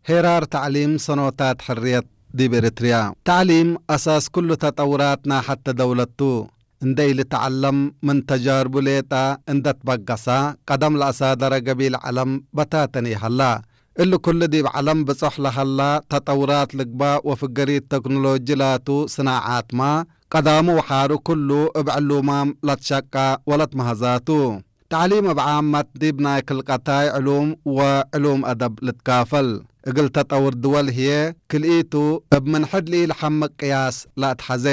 ሄራር ታዕሊም ሰኖታት ሕርየት ዲብ ኤርትርያ። ታዕሊም ኣሳስ ኩሉ ተጠውራት ናይ ሓተ ደውለቱ። እንደ ኢልተዓለም ምን ተጃርቡ ሌጣ እንደ ትበገሳ፣ ቀደም ለኣሳደረ ገቢል ዓለም በታተን ይሃላ። እሊ ኩሉ ዲብ ዓለም ብጾሕ ለሃላ ተጠውራት ልግባእ ወፍገሪት ተክኖሎጂ ላቱ ስናዓትማ፣ ቀዳሙ ወሓሩ ኩሉ እብ ዕሉማም ለትሸቃ ወለትመሃዛቱ። ታዕሊም እብ ዓመት ዲብ ናይ ክልቀታይ ዕሉም ወዕሉም አደብ ልትካፈል። እግል ተጠውር ድወል ህዬ ክልኢቱ እብ ምን ሕድ ልኢልሐምቅ ቅያስ ለአትሐዜ።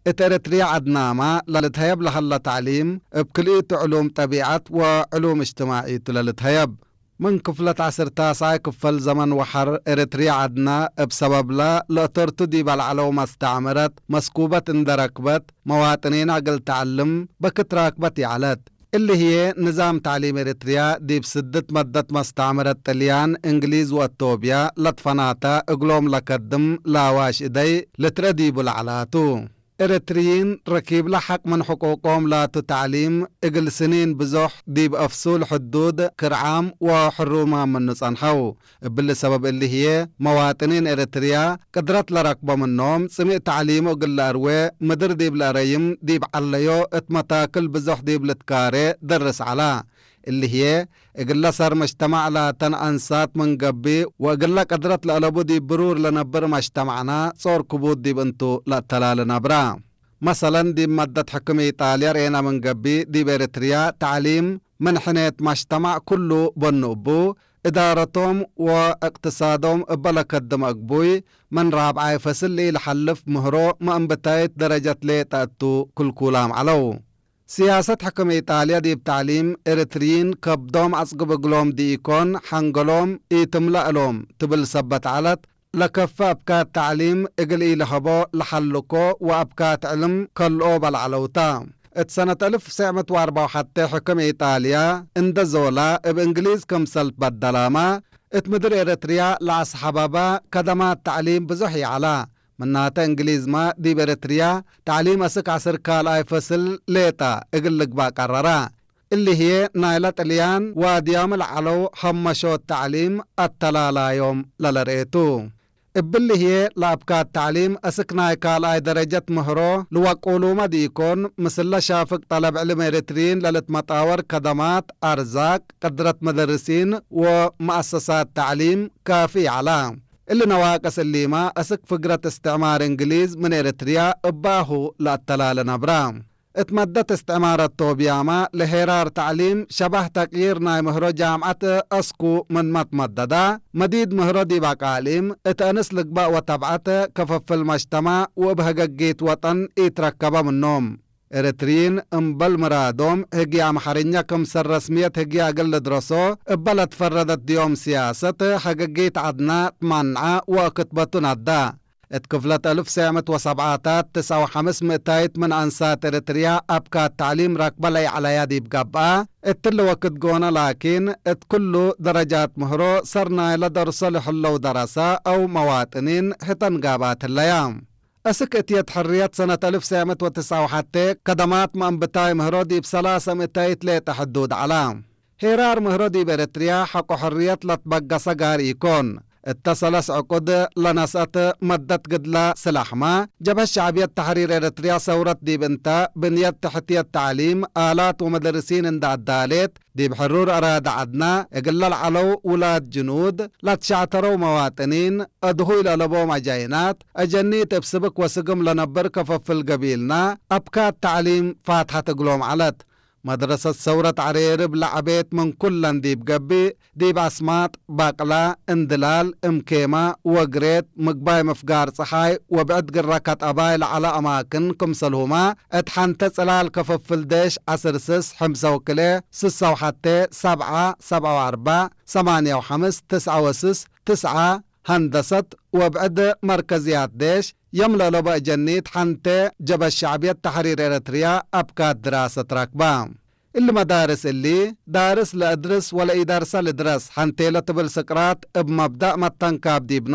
እት ኤረትርያ ዐድናማ ለልትሀየብ ለሀለ ታዕሊም እብ ክልኢቱ ዕሉም ጠቢዐት ወዕሉም እጅትማዒቱ ለልትሀየብ። ምን ክፍለት ዐስር ታስዓይ ክፈል ዘመን ወሐር ኤረትርያ ዐድና እብ ሰበብለ ለእተርቱ ዲብ አልዐለው መስተዕምረት መስኩበት እንደ ረክበት መዋጥኒና እግል ተዐልም በክት ራክበት ይዐለት። እሊ ህዬ ንዛም ታዕሊም ኤረትርያ ዲብ ስድት መደት መስተዕምረት ጥልያን፣ እንግሊዝ ወአቶብያ ለትፈናተ እግሎም ለከድም ላዋሽ እደይ ልትረ ዲቡ ለዐላቱ። ኤረትርይን ረኪብለ ሐቅ ምን ሕቁቆም ላቱ ታዕሊም እግል ስኒን ብዞሕ ዲብ አፍሱል ሕዱድ ክርዓም ወሕሩማም ምኑ ጸንሐው። እብሊ ሰበብ እሊ ህዬ መዋጥኒን ኤረትርያ ቅድረት ለረክቦ ምኖም ጽሚእ ታዕሊሙ እግል ለአርዌ ምድር ዲብ ለአረይም ዲብ ዐለዮ እት መታክል ብዞሕ ዲብ ልትካሬ ደርስ ዐላ። እሊ ህዬ እግለ ሰር መጅተማዕ ላተን አንሳት ምን ገብእ ወእግለ ቅድረት ለአለቡ ዲብ ብሩር ለነብር መጅተማዕና ጾር ክቡድ ዲብ እንቱ ለአተላለ ነብራ። መሰለን ዲብ መደት ሕክም ኢጣልያ ርኤና ምን ገብእ ዲብ ኤረትርያ ታዕሊም ምን ሕኔት መጅተማዕ ኩሉ በኑ እቡ፣ እዳረቶም ወእቅትሳዶም እበ ለከድም አግቡይ ምን ራብዓይ ፈስል ለኢለሐልፍ ምህሮ መእንብታይት ደረጀት ሌጠ እቱ ክልኩላም ዐለው። ስያሰት ሕክም ኢጣልያ ዲብ ታዕሊም ኤረትርይን ከብዶም አጽግብ እግሎም ድኢኮን ሐንገሎም ኢትምለእ እሎም ትብል ሰበት ዐለት፣ ለከፈ አብካት ታዕሊም እግል ኢለሀቦ ለሐልኮ ወአብካት ዕልም ከልኦ በልዐለውታ። እት ሰነት አልፍ ሰዕ ምእት ወአርበዕ ወሐቴ ሕክም ኢጣልያ እንደ ዞላ እብ እንግሊዝ ክምሰል ትበደላማ፣ እት ምድር ኤረትርያ ለአስሐበባ ከደማት ታዕሊም ብዙሕ ይዐላ። ምናተ እንግሊዝማ ዲብ ኤረትርያ ታዕሊም አስክ ዐስር ካልኣይ ፈስል ሌጠ እግል ልግባእ ቀረራ። እሊ ህዬ ናይለ ጥልያን ዋድያም ለዐለው ሀመሾት ታዕሊም አተላላዮም ለለርኤቱ። እብሊ ህዬ ለአብካት ታዕሊም አስክ ናይ ካልኣይ ደረጀት ምህሮ ልወቁሉመ ዲኢኮን፣ ምስለ ሻፍግ ጠለብ ዕልም ኤረትርይን ለልትመጣወር ከደማት፣ አርዛቅ፣ ቅድረት መደርሲን ወመአሰሳት ታዕሊም ካፊ ይዐላ። እሊ ነዋቅስ እሊማ አስክ ፍግረት እስትዕማር እንግሊዝ ምን ኤረትርያ እባሁ ለአተላለ ነብራ። እት መደት እስትዕማር አቶብያማ ለሄራር ታዕሊም ሸባህ ተቅይር ናይ ምህሮ ጃምዐት አስኩ ምንመ ትመደዳ፣ መዲድ ምህሮ ዲብ አቃሊም እት አንስ ልግባእ ወተብዐት ከፈፍል መጅተማዕ ወእብ ሀገጊት ወጠን ኢትረከበ ምኖም። ኤረትርይን እምበል ምራዶም ህግየ አምሐርኛ ክምሰል ረስምየት ህግየ እግል ልድረሶ እበ ለትፈረደት ድዮም ስያሰት ሀገጊት ዐድና ትማንዐ ወክትበቱ ናዳ። እት ክፍለት አልፍ ሰዕ ምእት ወሰብዓታት ትስዕ ወሐምስ ምእታይት ምን አንሳት ኤረትርያ አብካት ተዕሊም ረክበ ለይዐለያ ዲብ ገብአ፣ እትሊ ወክድ ጎነ ላኪን እት ክሉ ደረጃት ምህሮ ሰር ናይለ ደርሶ ለህለው ደረሰ አው መዋጥኒን ህተን ጋብአት ህለያ። እስክ እትየት ሕርየት ሰነት አልፍ ሰዕ ምእት ወትስዕ ወሐቴ ከደማት መእንብታይ ምህሮ ዲብ ሰላሰ ምእታይት ሌጠ ሕዱድ ዐላ። ሄራር ምህሮ ዲብ ኤረትርያ ሐቆ ሕርየት ለትበገሰ ጋር ኢኮን። እተ ሰለስ ዕቁድ ለነስአት መደት ግድለ ስላሕመ፣ ጀብሀት ሸዕብየት ተሕሪር ኤረትርያ ሰውረት ዲብ እንተ ብንየት ተሕትየት ተዕሊም፣ አላት ወመደርሲን እንደ አዳሌት፣ ዲብ ሕሩር አራደ ዐድና እግለ ለዐለው ውላድ ጅኑድ ለትሸዕተረው መዋጥኒን፣ አድሁይ ለአለቦም አጃይናት፣ አጀኒት እብ ስብክ ወስግም ለነብር ከፈፍል ገቢልና፣ አብካት ተዕሊም ፋትሐት እግሎም ዐለት። መድረሰት ሰውረት ዐሬርብ ለዐቤት ምን ኩለን ዲብ ገብእ፣ ዲብ አስማጥ፣ ባቅላ፣ እንድላል፣ እምኬማ፣ ወግሬት፣ ምግባይ ምፍጋር ጸሓይ ወብዕድ ግረከት አባይ ለዐለ አማክን ክምሰልሁመ፣ እት ሐንተ ጽላል ከፈፍል ዴሽ ዐስር ስስ፣ ሕምሰ ወክልኤ፣ ስሰ ወሐቴ፣ ሰብዐ፣ ሰብዐ ወአርበዕ፣ ሰማንየ ወሐምስ፣ ትስዐ ወስስ፣ ትስዐ፣ ሀንደሰት ወብዕድ መርከዝያት ዴሽ፣ የም ለአለቦ አጀኒት ሐንቴ ጀበ ሸዕብየት ተሕሪር ኤረትርያ አብካት ድራሰት ረክባ። እሊ መዳርስ እሊ፣ ዳርስ ለእድርስ ወለኢደርሰ ልድረስ ሐንቴ ለትብል ስቅራት እብ መብዳእ መተንካብ ዲብኖ፣